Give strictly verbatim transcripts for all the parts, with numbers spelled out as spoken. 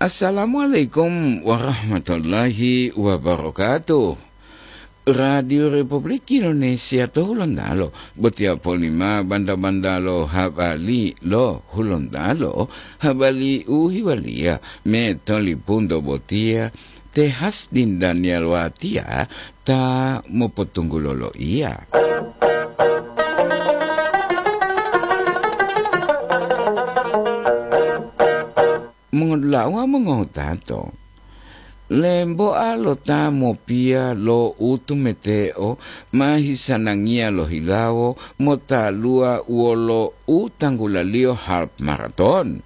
Assalamualaikum warahmatullahi wabarakatuh. Radio Republik Indonesia to Hulontalo, botiya polima banda-banda lo habari lo Hulontalo, habari u hiwaliya me tolipunto botiya, te Hasdin Daniel Watia ta mopotunggulo loiya. Mongodula'a wawu mongotato, lemboa lo ta mopiya lo utumeteo ma hisanangiya lohilawo motaluwa wolo u tanggulaliyo half maraton.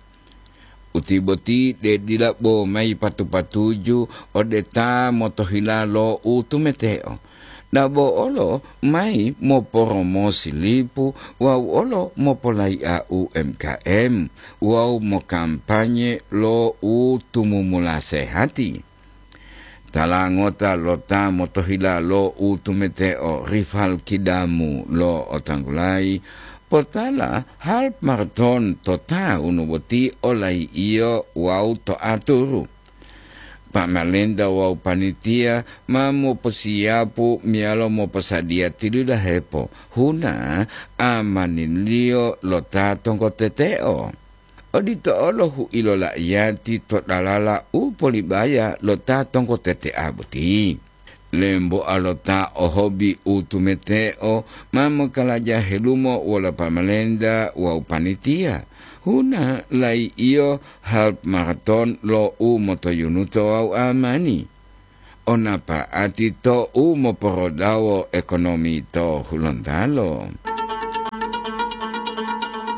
Uti boti de dila bo mayi patu-patuju ode ta motohila lo utumeteo. Dabo olo mayi moporomosi lipu wawu olo mopolai'a U M K M wawu mokampanye lo u tumumula sehati. Tala ngota lo ta motohila lo utumeteo rival kidamu lo otanggulayi, potala half maraton to taunu boti olai'iyo wawu to aturu. Pamalenta wawu panitia ma moposiyapu meyalo moposadiya tilidahepo huna amaniliyo lo ta tonggoteteo. Odito olo hu'ilo la'iyati to dalala u polibaya lo ta tonggotetea boti. Lemboa lo ta ohobi u tumeteo ma mokalaja helumo wolo pamalenta wawu panitia, huna lai'iyo half maraton lo u motoyunuto wawu amani. Onapa'ati to u moporodawo ekonomi to Hulontalo.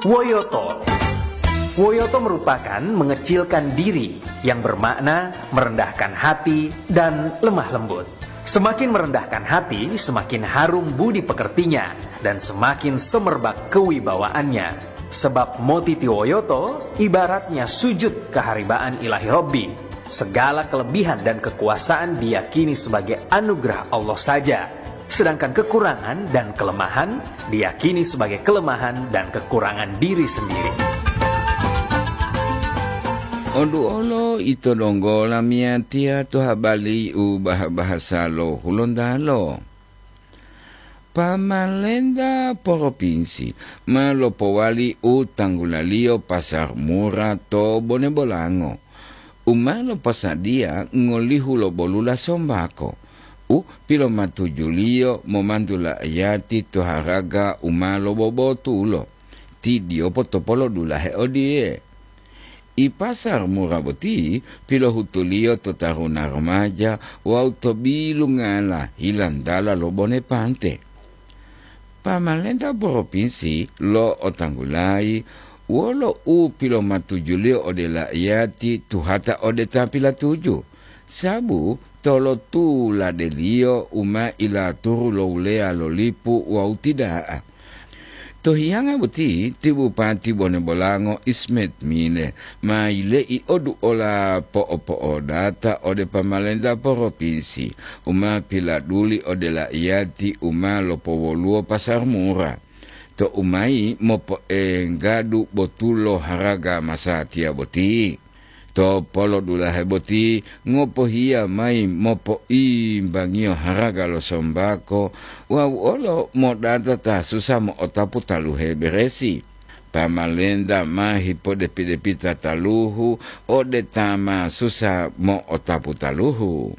Woyoto. Woyoto merupakan mengecilkan diri, yang bermakna merendahkan hati dan lemah lembut. Semakin merendahkan hati, semakin harum budi pekertinya, dan semakin semerbak kewibawaannya. Sebab motitiwoyoto ibaratnya sujud keharibaan Ilahi Robbi. Segala kelebihan dan kekuasaan diyakini sebagai anugerah Allah saja, sedangkan kekurangan dan kelemahan diyakini sebagai kelemahan dan kekurangan diri sendiri. Oduolo ito donggo lamiyatiya to habari u bah-bahasa lo Hulontalo. Pamalenta poropinsi ma lopowali u tanggulaliyo pasar mura to Bone Bolango, u ma loposadiya ngolihu lo bolula sombako, u pilomatujuliyo momantu la'iyati to haraga u ma lobobotulo. Ti diyopo topolodulahe odiye, I pasar mura boti pilohutuliyo to taruna remaja wawu to bilungala hilandala lo Bone Pante. Pamalenta poropinsi lo'otanggulayi wolo u pilomatujuliyo ode la'iyati tuhata ode ta pilatuju, sabu tolotuladeliyo u ma ilaturu lo wuleya lo lipu wawu ti da'a. To hiyanga boti ti Bupati Bone Bolango Ismet Mile ma yile'i oduola po'opo'odata ode pamalenta poropinsi u ma piladuli ode la'iyati u ma lopowoluwo pasar mura, to u mayi mopoenggadu botulo haraga masatiya boti. To polodulahe boti ngopohiya mayi mopoimbangiyo haraga lo sombako wawu olo modata ta susa mo'otapu taluhe beresi. Pamalenta ma hipodepi-depita taluhu ode ta ma susa mo'otapu taluhu.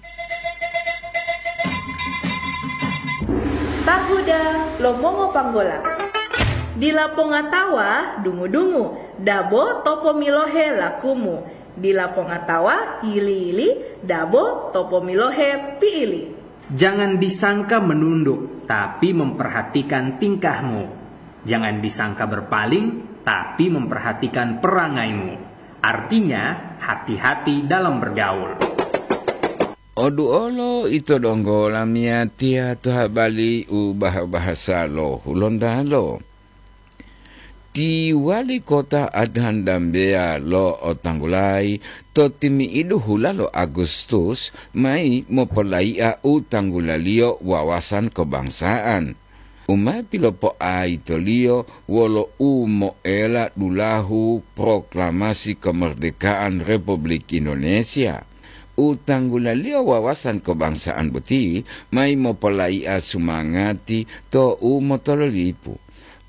Tahuda lo mongopanggola. Dila pongatawa dungu-dungu, dabo to pomilohe lakumu. Dila pongatawa yili-yili, dabo to pomilohe pi'ili. Jangan disangka menunduk, tapi memperhatikan tingkahmu. Jangan disangka berpaling, tapi memperhatikan perangaimu. Artinya, hati-hati dalam bergaul. Oduolo ito donggo lamiyatiya to habari u bah-bahasa lo Hulontalo. Ti wali kota Adhan Dambeya lo'otanggulayi to timi'idu hula lo Agustus mayi mopolai'a u tanggulaliyo wawasan kebangsaan. u ma pilopoaitoliyo wolo u moela dulahu proklamasi kemerdekaan Republik Indonesia. U tanggulaliyo wawasan kebangsaan boti mayi mopolaia sumangati to u motololipu,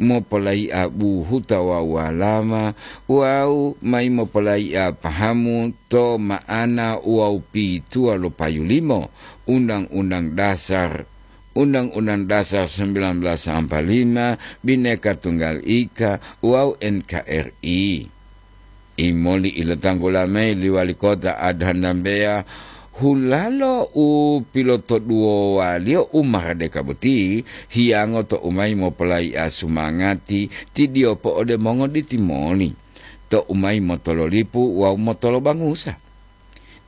mopolaia buhuta wawu walama, wawu mayi mopolaia pahamu to ma'ana wawu pituwa lo payulimo Undang-Undang Dasar, Undang-Undang Dasar sembilan belas empat lima, Bhinneka Tunggal Ika, wawu N K R I. Imoli ilotanggula mayi li wali kota Adhan Dambeya, hulalo u pilotoduwowaliyo u maradeka boti, hiyango to u mayi mopolaia sumangati tidiyopo ode mongoditi moli, to u mayi motololipu wawu motolobangusa.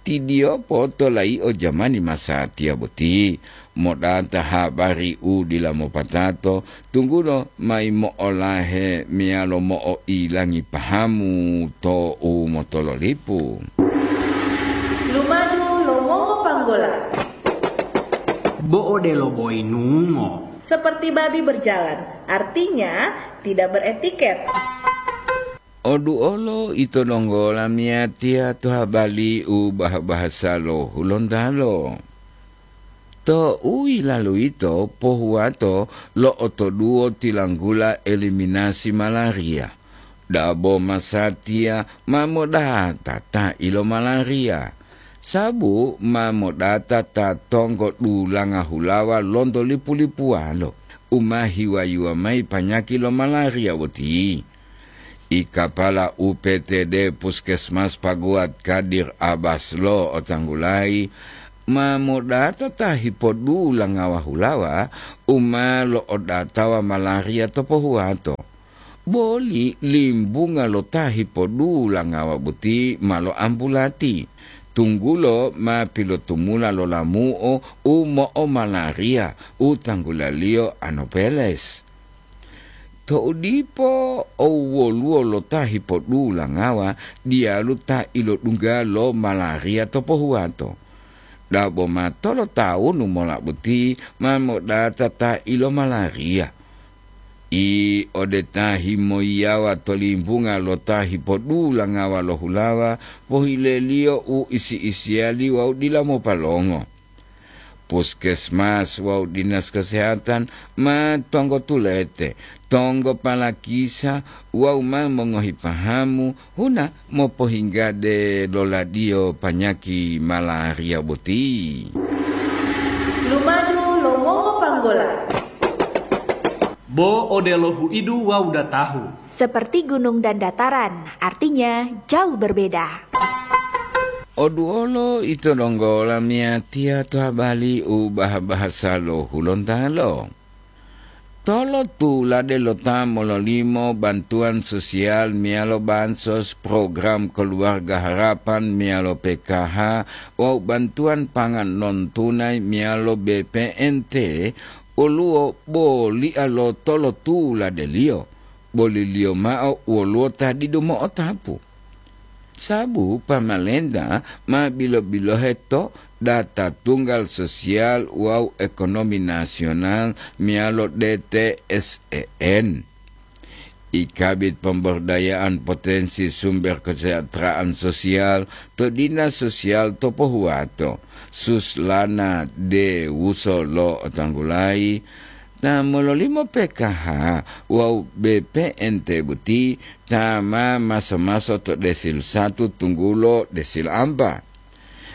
Tidiyopo to laio jamani masatiya boti, modata habari u dila mopatato, tunggulo mayi mo'olahe meyalo mo'oilangi pahamu to u motololipu. Lumadu lo mongopanggola. Bo odelo boyinungo. Seperti babi berjalan, artinya tidak beretiket. Oduolo ito donggo lamiyatiya to habali u bah-bahasa lo Hulontalo. To u yilalu yito pohuwato lo'otoduwo tilanggula eliminasi malaria. Dabo masatiya ma modata ta ilo malaria, sabu ma modata ta tonggo dulanga hulawa lonto lipu-lipuwalo u ma hiwayuwa mayi panyaki lo malaria boti. I kapala U P T D Puskesmas Paguat Kadir Abbas lo otanggulayi, ma modata ta hipodula ngawa hulawa u ma lo'odatawa malaria to pohuwato. Boli limbunga lo ta hipodula ngawa boti ma lo'ampulati, tunggulo ma pilotumula lo lamu'o u mo'omalaria u tanggulaliyo Anopheles. To'u dipo, woluwo lo ta hipodula ngawa diyalu ta ilodungga lo malaria to pohuwato. Dabo ma tolotawunu mola boti ma modata ta ilomalaria. I ode ta himoyiyawa to limbunga lo ta hipodula ngawa lo hulawa, pohileliyo u isi-isiyali wawu dila mopalongo. Puskesmas wawu dinas kesehatan ma tonggo tulete, tonggo palakisa wawu ma mongohi pahamu huna mopohinggade loladiyo panyaki malaria boti. Lumadu lo mongopanggola. Bo odelo huidu wawu datahu. Seperti gunung dan dataran, artinya jauh berbeda. Oduolo ito donggo lamiyatiya to habali u bah-bahasa lo Hulontalo. Tolotulade lo ta mololimo bantuan sosial meyalo bansos, program Keluarga Harapan meyalo P K H, wawu bantuan pangan non tunai meyalo B P N T, woluwo bolia lo tolotuladeliyo, boliliyo mao woluwo ta didu mo'otapu. Sabu pamalenta ma bilo-bilohe to data tunggal sosial wawu ekonomi nasional meyalo D T S E N. I Kabid Pemberdayaan Potensi Sumber Kesejahteraan Sosial to Dinas Sosial to Pohuwato, Suslana De Wuso lo otanggulayi, ta mololimo P K H wawu B P N T boti ta ma maso-maso to desil satu tunggulo desil ampa.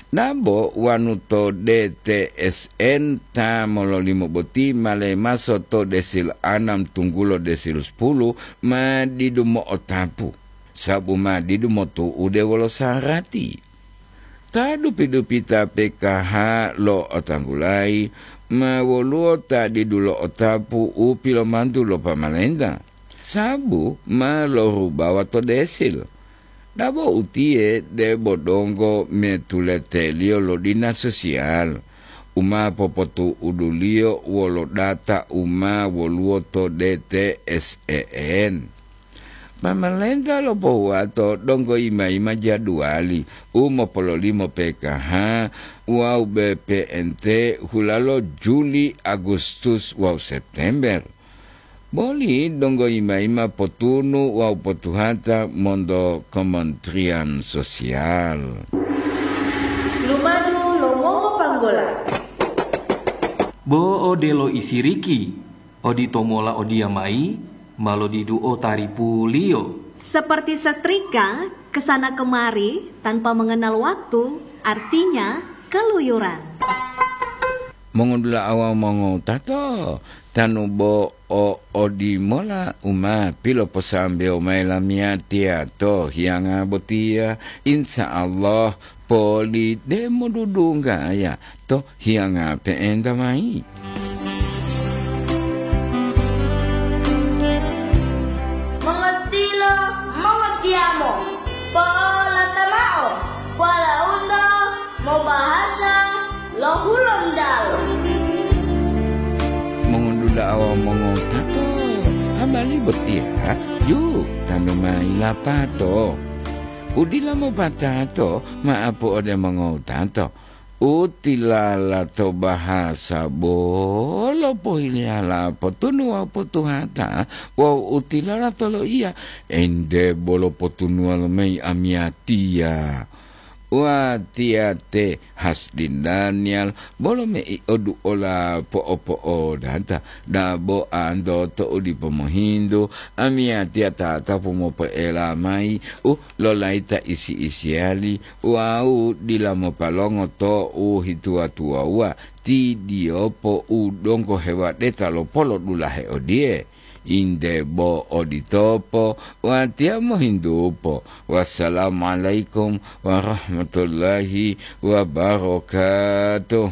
Dabo wanu to D T S N ta mololimo boti ma lemaso to desil anam tunggulo desil sepuluh ma didu mo'otapu, sabu ma didu motu'ude wolo sarati. Ta dupi-dupita P K H lo otanggulayi ma woluwo ta didu lo'otapu u pilomantu lo pamalenta, sabu ma lorubawa to desil. Dabo utiye debo donggo metuleteliyo lo dinas sosial, u ma popotu'uduliyo wolo data u ma woluwo to D T S E N. Pamalenta lo pohuwato donggo yima-yima jaduwali u mopololimo P K H wawu B P N T hulalo Juli, Agustus wawu September. Boli donggo yima-yima potunu wawu potuhata monto Kementerian Sosial. Lumadu lo mongopanggola. Bo odelo isiriki, oditomola odiyamayi ma lodiduo taripuliyo. Seperti setrika, kesana kemari tanpa mengenal waktu, artinya keluyuran. Mongodula'a wawu mongowutato, tanu bo o odimola u ma piloposambewo mayi lamiyatiya to hiyanga botiya, insya Allah poli demo dudunggaya to hiyanga pe'enta mayi. Mongotilo, mongotiyamo, polata mao, polaunto mobahasa lo Hulontalo. Mongondula'a wawu mongowutato, habari botiya ju tanu mayi lapato. U dila mopatato ma'apu ode mongowutato. U tilala to bahasa bolo pohiliyala potunu wawu potuhata, wawu u tilala to loiya, ente bolo potunuwa lomayi amiyatiya. Watiya te Hasdin Daniel bolo mei oduola po'opo'odata, dabo anto to u dipo mohintu, amiyatiya tatapu mopoela mayi u lolayita isi-isiyali wawu dila mopalongo to u hituwa-tuwawuwa, tidiyopo u donggo hewadeta lo polodulahe odiye. Inde bo oditopo, watiya mohintupo. Wassalamualaikum warahmatullahi wabarakatuh.